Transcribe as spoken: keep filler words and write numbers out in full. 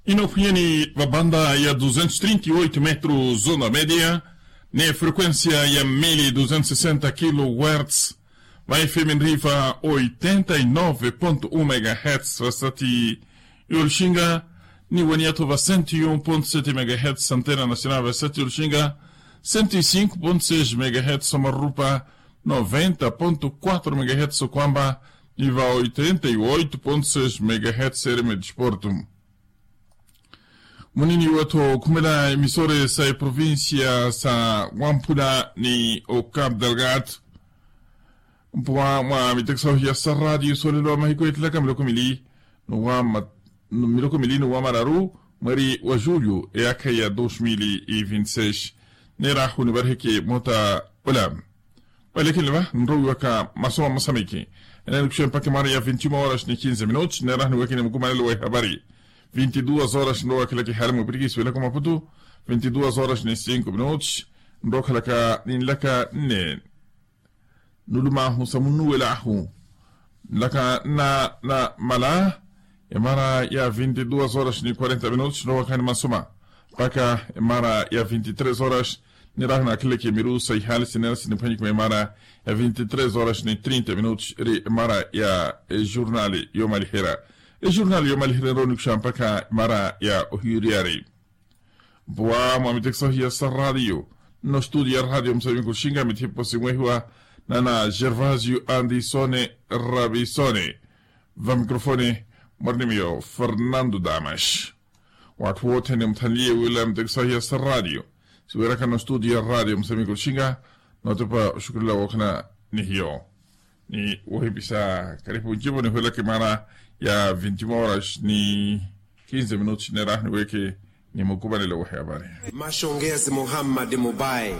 Inoophwiyeni vabanda ya duzentos trinta y oito metros zona media, ni frequencia ya mili duzentos sesenta kilohertz, va fm nriva oitenta y nove ponto um megahertz vasati yoluxinga, ni waniyato va cento y um ponto sete megahertz antena nacional vasati yoluxinga, cento y cinco ponto seis megahertz omarupa, noventa ponto quatro megahertz okwamba, ni va oitenta y oito ponto seis megahertz ereme disporto. Munini watho khumela emisore sa eprovincia sa wamphula ni ocap delgado. Mpuwa mwa mitekiso hiya sa radio solelo wa mahiku etilaka miloko mili, nowa miloko mili nowa mararu, mweri wa julio eyakha ya dos mil e vinti seis. Nerahu nivariheke mota ola. Valekhenle va nrowiwaka masoma mosamiki. Enanikuxe mpakha emara ya vinti uma horas ni kinze minutos nerahu niwekene mukumanelo wa ehabari. Vinti duas horas nrowakhelaka ehali mwipirikisi welaka omaputu. Vinti duas horas ni cinko minutos nrokhalaka ninlaka nne. Nulumahu sa munnuwelahu nlaka nna na mala. Emara ya vinti duas horas ni quarenta minutos nowakha ni masoma mpakha emara ya vinti tres horas. Nirahu nakhileke miru sa ihali sinera siniphwanyikuma emara ya vinti tres horas ni trinta minutos eri emara ya ejurnali yomaliherya. Ejurnali yomaliherya nroonikuxa mpakha emara ya ohiyuriyari. Mpuwa mwa mitekiso hiya sa radio nno studio ya radio museveni kuxinga mithipo simwehiwa nana gervasio andisone rabisone. Va microfone mwarinimiyo fernando damas. Watthu wothene muthanliye wila mitekiso hiya sa radio siweraka nno studio ya radio museveni kuxinga. Notepa oxukulela wokhana ni hiyo ni wohipisa karipu ncipo nihwelaka emara ya vinti uma horas ni kinze minutos nerahu niweke ni mukumanelo wa ehabari. Maxongezi muhammad mubai.